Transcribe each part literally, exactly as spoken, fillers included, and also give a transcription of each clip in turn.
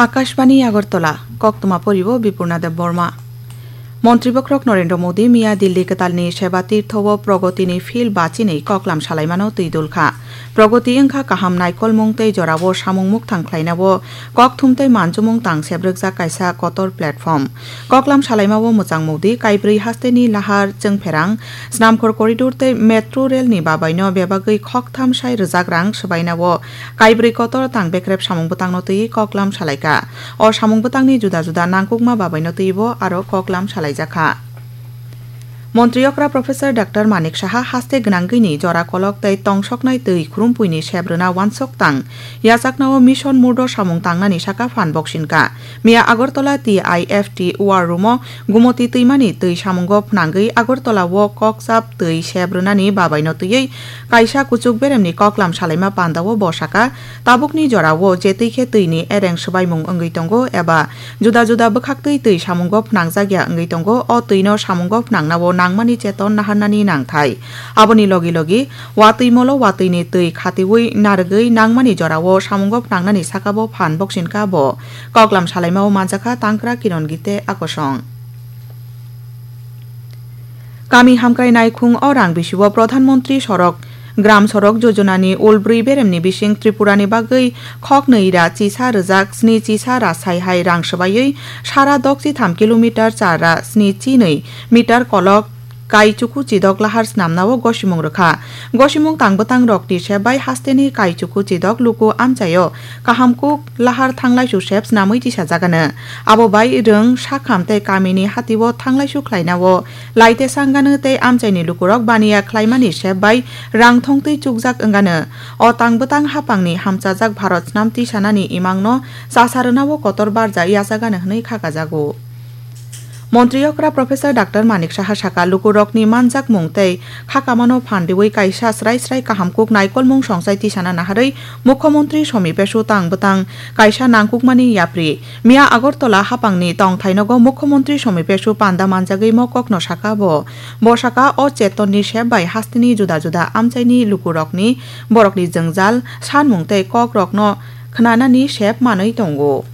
Akashbani Agartala, koktwma poribo Bipurna Debbarma. Montri bokhorok Narendra Modi miya Delhi kwtalni Seba Tirtho o Pragotini field bachinwi koklam salaimano twi dulkha. Pragoti wngkha kaham naikolmung tei jorao samung mukthang khlainao kokthum tei manjumung tang sebrwkjak kaisa kotor platform. Koklam salaimao mwchang Modi kaibrwi hasteni lahar chwngpherang, snamkhor corridor tei metro rail ni babaino bebagwi khoktham sai rwjak rang swbainao kaibrwi kotor tang bekrep samung bwtangno twiwi koklam salaikha. O samung bwtangni juda juda nangkukma babaino twibo aro koklam salaijakha. Montri okra Professor Doctor Manik Saha haste gwnangwini jora kolok tei tongsoknai twi khurumpuini sep rwna wansok tang yachaknao mission murdo samung tangnani saka phan boksinka. Miya Agartala T I F T War Room o Gumoti twimani twi samungo phnangwi Agartala o kokchap twi sep rwnani babaino twiwi kaisa kuchuk beremni koklam salaima pandao bo saka, tabukni jorao je twi khe twini ereng swbaimung wngwi tongo eba juda juda bwkhaktwi twi samungo phnangjakya wngwi tongo, o twino samungo phnangnao nangmani cheton naharnani nangthai. Aboni logi logi watwi molo watwini twi khatiwi narwgwi nangmani jorao samungo phnangnani sakabo phan boksinka bo. Koklam salaimao manjakha Tangkra Kiron Gite Akosong. Kami hamkrai naikhung o rang bisio Pradhan Mantri Sorok, Gram Sorok Jojona ni ulbrwi beremni bising Tripura ni bagwi khok nwi ra chisa rwjak sni chisa ra sai hai rang swbaiwi sara dok chi tham kilometer char ra sni chi nwi meter kolok Kaichuku Chidok lahar snamnao gosimung rwkha. Gosimung tang bwtang rokni sep bai hasteni Kaichuku Chidok luku amchaio kaham kuk lahar thanglaisu sep snamwi tisajagano. Abo bai rwng sakham tei kamini hatio thanglaisu khlainao laite sanggano tei amchaini lukurok baniya khlaimani sep bai rang thongtwi chukjak wngano. O tang bwtang hapangni hamchajak Bharat snam tisanani imangno chasa rwnao kotor barja yachagano hwnwi khakajago. Montri okra Professor Doctor Manik Saha saka, lukurokni manjakmung tei khakamano phan riwi kaisa srai srai kaham kuk naikolmung songchai tisana naharwi Mukhyamantri Somi Pesu tang bwtang kaisa nangkukmani yapri. Miya Agartala hapangni tongthainogo Mukhyamantri Somi Pesu panda manjagwi mokokno saka bo. Bo saka o chetonni sep bai hasteni juda juda amchaini lukurokni borokni jwngjal, sanmung tei kokrokno khwnanani sep manwi tongo.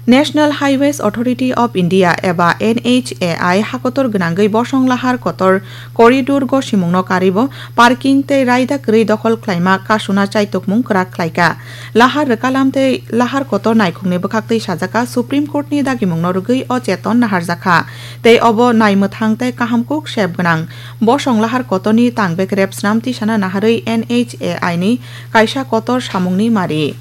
National Highways Authority of India eba N H A I hakotor gwnangwi bosong lahar kotor corridor gosimungno karibo parking tei raida kwrwi dokhol khlaima kasuna chaitukmung kwrak khlaika. Lahar rwkalam tei lahar kotor naikhungni bwkhaktwi sajaka Supreme Court ni dagimungno rwgwi o cheton naharjakha tei obo naimwthang tei kaham kuk sep gwnang. Bosong lahar kotorni tang bekrep snam tisana naharwi N H A I ni kaisa kotor samungni mari.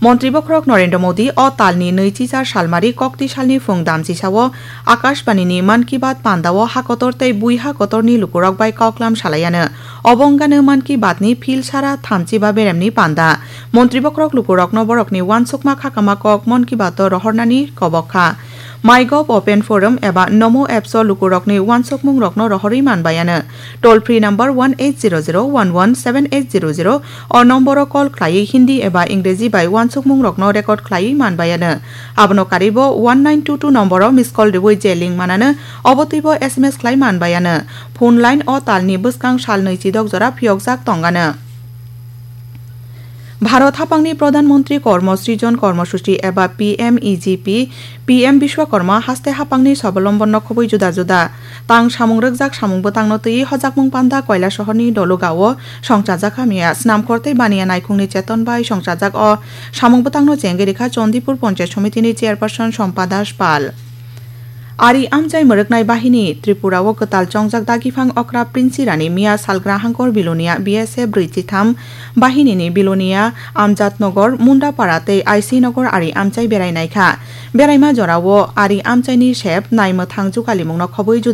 Montri bokhorok Narendra Modi o talni nwi chichar salmari kokti salni phung damchisao Akashbani ni Mann Ki Baat pandao hakotor tei bui hakotorni lukurok bai koklam salaiano. Obo wngano Mann Ki Baat ni phil sara thamchiba beremni panda. Montri bokhorok lukurokno borokni wansukma khakama kok Mann Ki Baat o rohornani kobok kha. MyGov Open Forum eba Namo Apps o lukurokni wansukmungrokno rohorwi manbaiano. Toll free number one eight zero zero one one seven eight zero zero o nomboro call khlaiwi Hindi eba Ingreji bai wansukmungrokno record khlaiwi manbaiano. Abono karibo one nine two two nomboro miss call riwi je link manano, obo twibo S M S khlai manbaiano. Phone line o talni bwskang sal nwi chidok jora phiyokjak tongano. Bharat hapangni Pradhan Mantri Kormo Srijon Kormosuchi eba P M E G P, P M Bishwakarma haste hapangni swabalombonno khobwi juda juda tang samung rwkjak samung bwtangno twiwi hojakmung panda Koilasohorni Dolugao songchajak hamya. Snamkhor tei baniya naikhungni cheton bai songchajak o samung bwtangno chengwi rikha Chandipur Panchayat Somitini Chairperson Sompa Das Pal. Ari amchai mwrwknai bahini Tripura o kwtal chongjak dagiphang okra Prince Rani miya salgra hangkor Bilonia B S F brwi chitham bahini ni Bilonia, Amjadnagar, Mundapara tei I C Nagar ari amchai berai naikha. Beraima jorao ari amchaini sep naimwthang jukalimungno khobwi juda